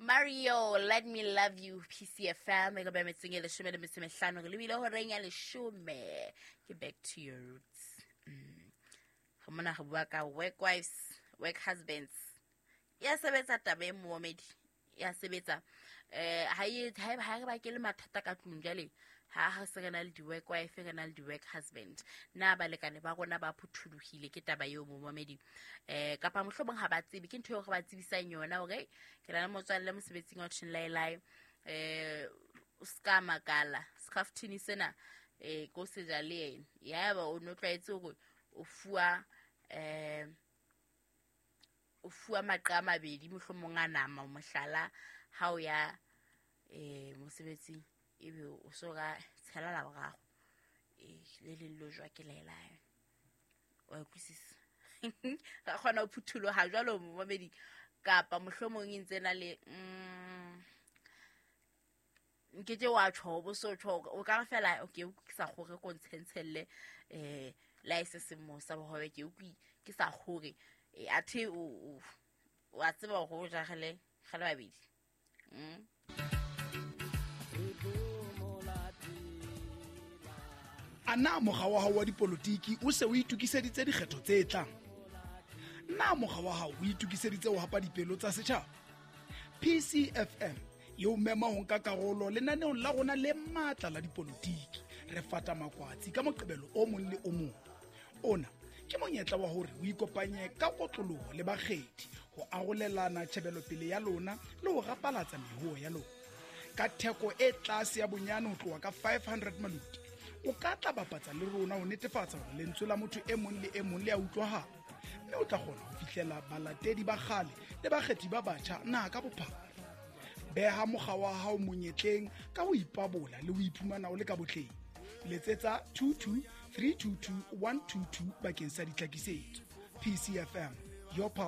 Mario, let me love you, PCFM, e ka ba metseng e leshome le metso e mehlano, re lebile horeng ya leshome. Ke back to your roots. Re mona re bua ka work wives, work husbands. Ya sebetsa taba e moomedi, ya sebetsa. Ha e ha re bakele mathata ka tlung jwale, ha ha se re na le di-work wife, re na le di-work husband. Na balekane ba rona ba phuthulohile ke taba eo momamedi? Kapa mohlomong ha ba tsebe, ke ntho eo re ba tsebisang yona hore ke na le motswalle mosebetsing wa Thinlaelae. O ska makala, scaftini sena ko seja le yena. Yaba o no tlwaetse hore o fuwa o fuwa maqa a mabedi mohlomong a nama, mohlala ha o ya mosebetsing, ebe o so ka tshela la boraro, le leng lo jwa ke laelayo. Wa utlwisisa? Ra kgona ho phutholoha jwalo momamedi, kapa mohlomong e ntse na le nkeke wa tjho, bo so tjho, o ka re fela okay, ke sa kgore ko ntshentshelle la e se seng sa bohobe, ke utlwi ke sa kgore. Athe o wa tseba hore o jagele gale babedi. A na mokga wa hao wa dipolotiki o se o itokiseditse dikgetho tse tlang? Na mokga wa hao o itokiseditse ho hapa dipelo tsa setjhaba? PCFM e o mema ho nka karolo lenaneong la rona le matla la dipolotiki. Re fata makwatsi ka Moqebelo o mong le o mong. Ona ke monyetla wa hore o ikopanye ka kotloloho le bakgethi ho arolelana tjhebelopele ya lona le ho rapalatsa mehuo ya lona. Ka theko e tlase ya bonyane ho tloha ka 500 maluti, o ka tla bapatsa le rona ho netefatsa hore lentswe la motho e mong le e mong le a utlwahala, mme o tla kgona ho fihlela balatedi ba kgale le bakgethi ba batjha naha ka bophara. Beha mokga wa hao monyetleng ka ho ipabola le ho iphumana o le ka botleng. Letsetsa 22 322 122 bakeng sa ditlhakisetso. PCFM, your pulse.